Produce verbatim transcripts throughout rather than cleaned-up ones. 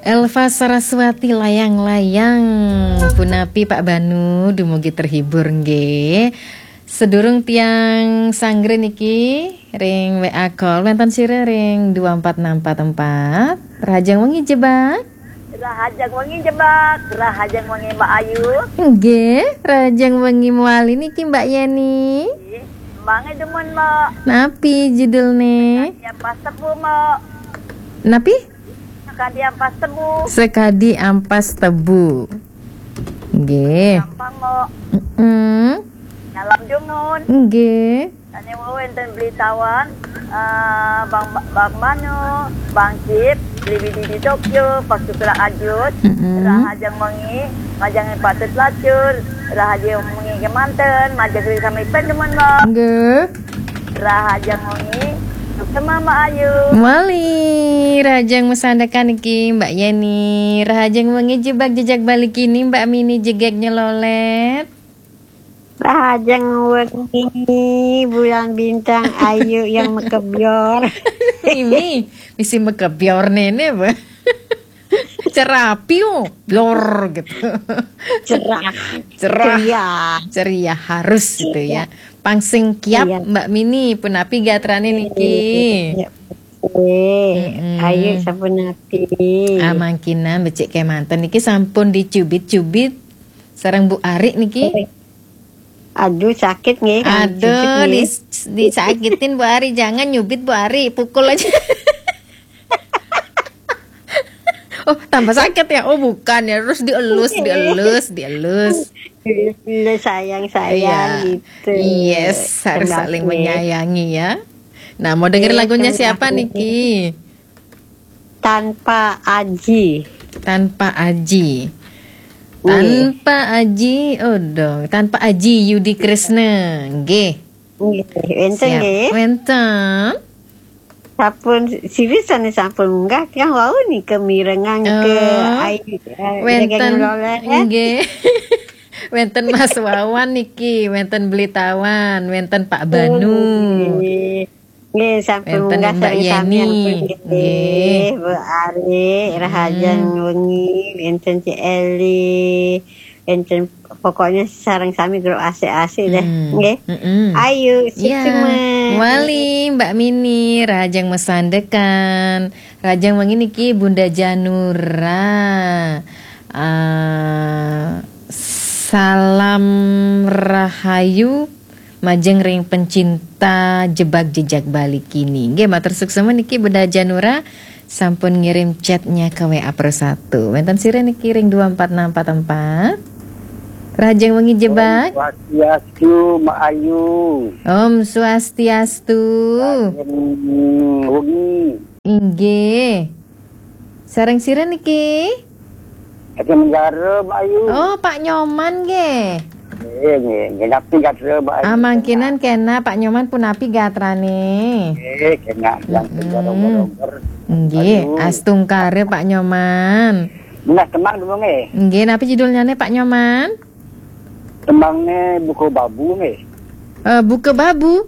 Elva Saraswati, Layang-Layang. Punapi Pak Banu, dumugi terhibur nggih. Sedurung tiang sanggra niki ring W A call, wénten sira ring dua empat enam empat empat. Rahajeng wengi Jebak. Rahajeng wengi Jebak, rahajeng wengi Mbak Ayu. Nggih, rahajeng wengi mawali niki Mbak Yeni. Nggih, mangke demen, Mbak. Napi judulne? Sekadi ampas tebu, Mbak. Napi? Sekadi ampas tebu. Sekadi ampas tebu. Nggih. Gampang, Mbak. Mm-mm. Dalam dungun. Nggih. Sane wau wenten Beli Tawan, eh, Bang, Bang Mano, Bang Cip, Beli Bidi di Tokyo, Pak Sukra Ajut, Mm-mm. Rahajeng Wengi, Majeng Patut Lacur, Rahajeng Wengi kemanten, Majeng Ri sami pendemen, Mbak. Nggih. Rahajeng Wengi, sukses, Mbak Ayu. Mali, rahajeng masandekan niki, Mbak Yeni. Rahajeng wengi Jebak Jejak Bali kini, Mbak Mini Jegeg Nyelolet. Rahajeng wengi Bulan Bintang Ayu yang mekebior. Ini misi mekebior nene, Mbak. Cerapiu, bior gitu. Cerah. Cerah. Ceria. Ceria harus gitu ya. Pang sing kiap, Iya. Mbak Mini, punapi gatrane niki? Iya. Eh, Mm-mm. Ayu sapunapi? Amangkinan becik kemanten niki sampun dicubit-cubit sareng Bu Ari niki. Aduh, sakit nggih, kan? Aduh, cubit nggih. Dis-, disakitin Bu Ari, jangan nyubit Bu Ari, pukul aja. Oh, tambah sakit ya? Oh, bukan ya, terus dielus, dielus, dielus. Dielus, sayang, sayang, Iya. Gitu. Yes, harus saling menyayangi ya. Nah, mau denger lagunya siapa niki? Tanpa Aji. Tanpa Aji. Nggih. Tanpa Aji, oh dong. Tanpa Aji Yudi Kresna. Nggih. Nggih, wenten nggih. Wenten. Sampun sirih sane sampun munggah, tiang wau nika mirengang ke Oh. Ai, eh, wenten. Nggih. Wenten Mas Wawan niki, wenten Beli Tawan, wenten Pak Banu. Oh, nggih. Nggih, sampun munggah sareng sami. Nggih, Bu Ari, rahajeng wengi, wenten Cik Eli, wenten pokoknya sareng sami grup asik-asik deh, nggih. Ayu, sukses. Wali, Mbak Mini, rahajeng masandekan, rahajeng wengi niki Bunda Janura. Ah, salam rahayu majeng ring pencinta Jebak Jejak Bali kini. Nggih, matur suksma niki Bunda Janura sampun ngirim chatnya ke W A Pro satu. Wenten sira niki ring dua empat enam empat empat. Rahajeng wengi Jebak. Om Swastiastu, Mak Ayu. Om Swastiastu. Rahajeng wengi. Inggih. Sareng sira niki? Ati Menggara, Mbak Ayu. Oh, Pak Nyoman nggih. Nggih, nggih. Nggih, napi gatra, Mbak Ayu? Amangkinan kena, Pak Nyoman punapi gatrane? Nggih, kena. Yang penjara Mm-mm. Nggih, Ayu. Astungkara Pak Nyoman. Nah, tembang dulu nggih. Nggih, napi judulnyane Pak Nyoman? Tembangne Buka Babu nggih. Eh, Buka Babu?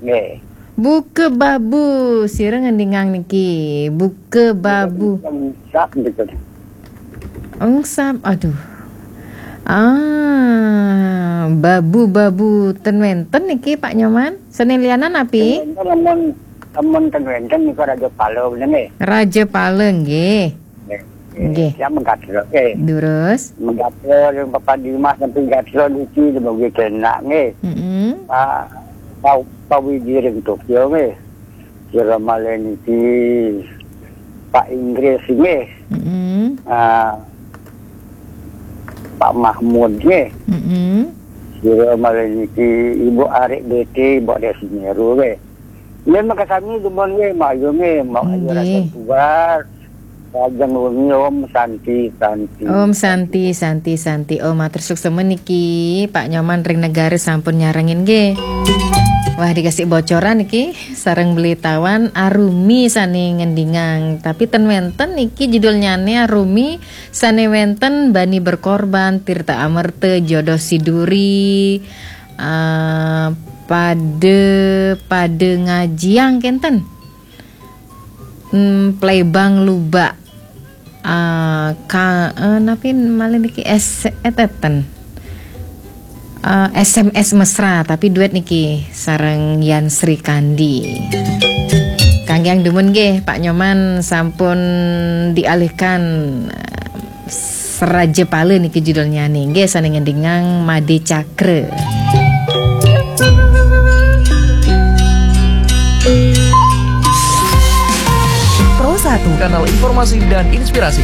Nggih. Buka Babu, sira ngendingang niki. Buka Babu. Engsap gitu. Engsap, aduh. Ah, babu-babu ten wenten niki Pak Nyoman. Sane lianan napi? Ten wenten, amun, amun ten wenten niku Raja Pala bener nggih. Raja Pala nggih. Nggih. Nggih. Ya, mengkatra, nggih. Durus. Mengkatra ring Bapak Dimas sampai gatra niki dumugi kenak nggih. Mm-mm. Pak, Pak, Pak Widi ring Tokyo nggih. Sira malih niki Pak Inggris nggih. Mm-mm. Ah, Pak Mahmud nggih. Mm-mm. Sira malih niki Ibu Arik B T, Ibu Arik Semeru nggih. Nggih, makasami dumun nggih, Mak Ayu nggih, Mak Ayu Nggih. Rasa Tugas. Rahajeng wengi, Om Santi, Santi. Om Santi, Santi, Santi. Om, matur suksma niki, Pak Nyoman ring Negara sampun nyarengin nggih. Wah, dikasih bocoran niki, sareng Beli Tawan Arumi sane ngendingang. Tapi ten wenten niki judulnyane Arumi sane wenten Bani Berkorban, Tirta Amerta, Jodoh Siduri, eh, Pada, Pada Ngajiang kenten. Hmm, Plebang Lubak. Ah, ka, eh, napi malih niki, S, eh, teten. Eh, S M S Mesra, tapi duet niki sareng Yan Srikandi. Kangge yang dumun nggih, Pak Nyoman sampun dialihkan, eh, Seraja Pala niki judulnya nih, nggih, sane ngendingang Made Cakra. Pro satu. Kanal informasi dan inspirasi.